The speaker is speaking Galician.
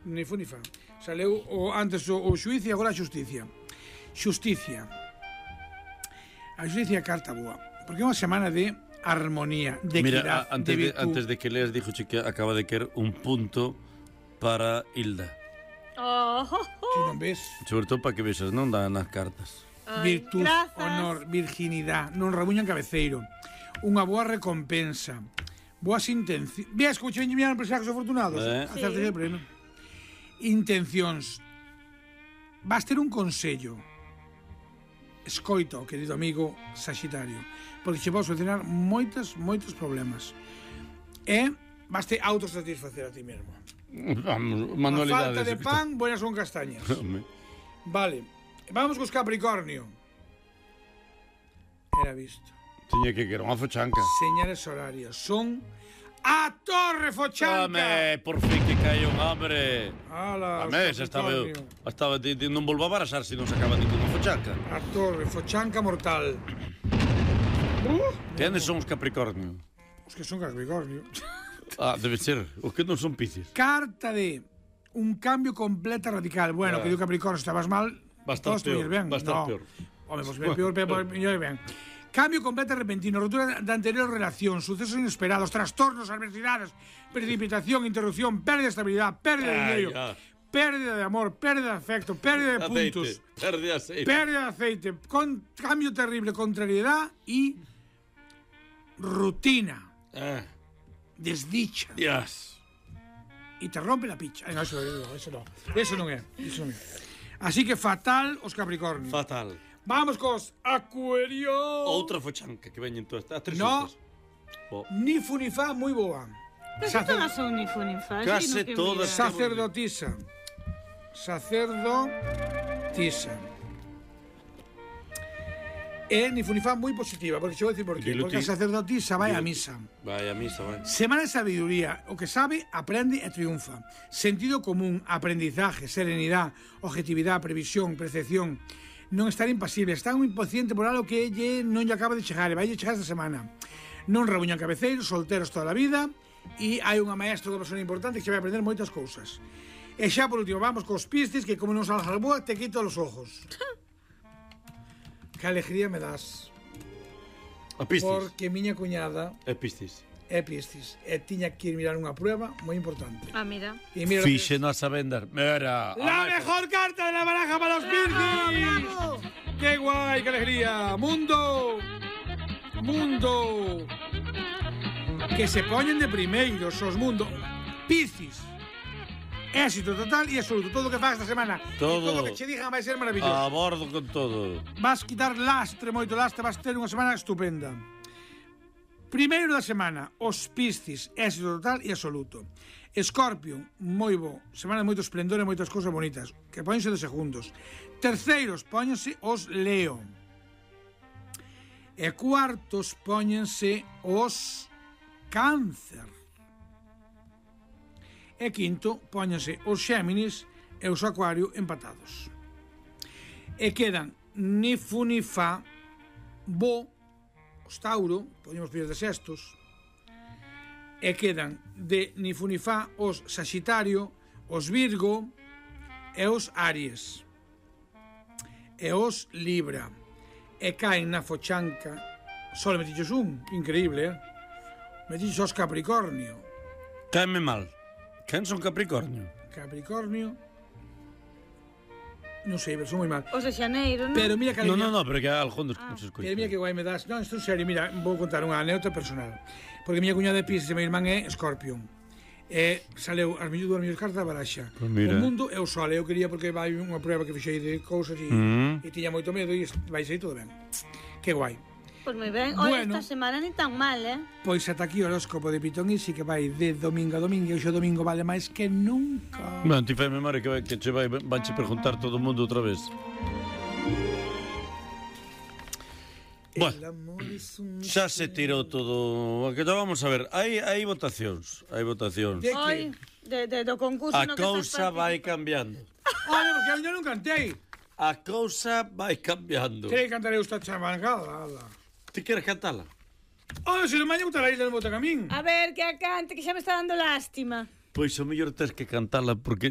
Ni fu ni fa. Saleu antes o xuiz e agora a xusticia. Xusticia. A xusticia é carta boa, porque é unha semana de armonía, de equidad, de virtud. Antes de que leas, dijo que acaba de querer un punto para Hilda. Si non ves. Sobre todo para que vexas, non dan nas cartas. Virtud, honor, virginidade, non rabuñan cabeceiro. Unha boa recompensa. Boas intencións. Ves como che veñen empresarios afortunados? Acerte sempre, non? Intencións. Vas ter un consello. Escoita, querido amigo Saxitario, porque che vai solucionar moitos problemas. E vas te autosatisfacer a ti mesmo. Manualidades. A falta de pan, buenas son castañas. Vale, vamos cos Capricornio. Era visto. Tiña que querer unha fochanca. Señales horarias son a Torre Fochanca. Home, por fin que cae un hambre. Ala, estaba non volva a barasar se non sacaba ninguna fochanca. A Torre Fochanca mortal. Quenes son os Capricornio? Os que son Capricornio. Debe ser, os que non son Piscis. Carta de un cambio completo radical. Bueno, que digo Capricornio, estabas mal. Va a estar peor. Home, pues peor, ben. Cambio completo e repentino, rotura da anterior relación, sucesos inesperados, trastornos, adversidades, precipitación, interrupción, pérdida de estabilidad, pérdida de dinero, pérdida de amor, pérdida de afecto, pérdida de puntos, pérdida de aceite, cambio terrible, contrariedad y rutina. Desdicha. Y te rompe la picha. No, eso non é. Así que fatal os Capricornio. Fatal. Vamos cos Acuario. Outra fochanca que veñen todas as tres xuntas. Ni fu ni fa, moi boa. Pero que todas son ni fu ni fa. Case todas. Sacerdotisa. E ni fu ni fa moi positiva, porque che vou dicir por qué. Porque a sacerdotisa vai a misa. Vai a misa, vai. Semana de sabiduría. O que sabe, aprende e triunfa. Sentido común, aprendizaje, serenidade, objetividade, previsión, percepción. Non estar impasible, estar un impaciente por algo que non lle acaba de chegar, e vai chegar esta semana. Non rabuñan cabeceiros, solteros toda a vida, e hai unha maestra, unha persona importante que se vai aprender moitas cousas. E xa por último, vamos cos Piscis, que como non salgas boa, te quito os ojos. Que alegría me das. A Piscis. Porque miña cuñada é Piscis. E tiña que ir mirar unha prueba moi importante. Mira. Fixeno a saber. Mira. La mejor carta de la baraja para los Piscis. ¡Bravo! ¡Qué guay, qué alegría! ¡Mundo! Que se poñen de primeiros os mundo. Piscis. Éxito total e absoluto. Todo o que faz esta semana. Todo o que che digan vai ser maravilloso. A bordo con todo. Vas quitar lastre, moito lastre. Vas ter unha semana estupenda. Primeiro da semana, os Piscis, éxito total e absoluto. Escorpio, moi bo, semana de moito esplendor e moitas cousas bonitas, que póñense de segundos. Terceiros, póñense os Leo. E cuartos, póñense os Cáncer. E quinto, póñense os Xéminis e os Acuario empatados. E quedan ni fu ni fa, bo, os Tauro, podemos pedir de sextos, e quedan de ni fu ni fa os Saxitario, os Virgo e os Aries e os Libra, e caen na fochanca só metiches un, increíble, metiches os Capricornio. Caeme mal. Quen son Capricornio? Non sei, pero son moi mal. Os de Xaneiro, non? Pero mira que No, pero que algún dos se escoita. Pero mira que guai me das. Non, isto en serio, mira, vou contar unha anécdota personal. Porque miña cuñada de Piscis e meu irmán é Escorpión. E saleu as mellores cartas da baraxa. Pues o mundo é o sol. Eu quería porque vai unha prueba que fixei de cousas e tiña moito medo e vai sair todo ben. Que guai. Pois moi ben. Olha, esta semana ni tan mal, Pois ata aquí o horóscopo de Pitón e si que vai de domingo a domingo, e o domingo vale máis que nunca. Ben, ti fai memoria que che vanche preguntar todo o mundo outra vez. Bueno, xa se tirou todo. Que vamos a ver, hai votacións. Do concurso no que cousa vai cambiando. Olha, porque eu non cantei. A cousa vai cambiando. Que cantarei esta chamangada. Ti queres cantala? Olha, se non maña botar a Isla no Botacamín. A ver, que a cante, que xa me está dando lástima. Pois o mellor tes que cantala porque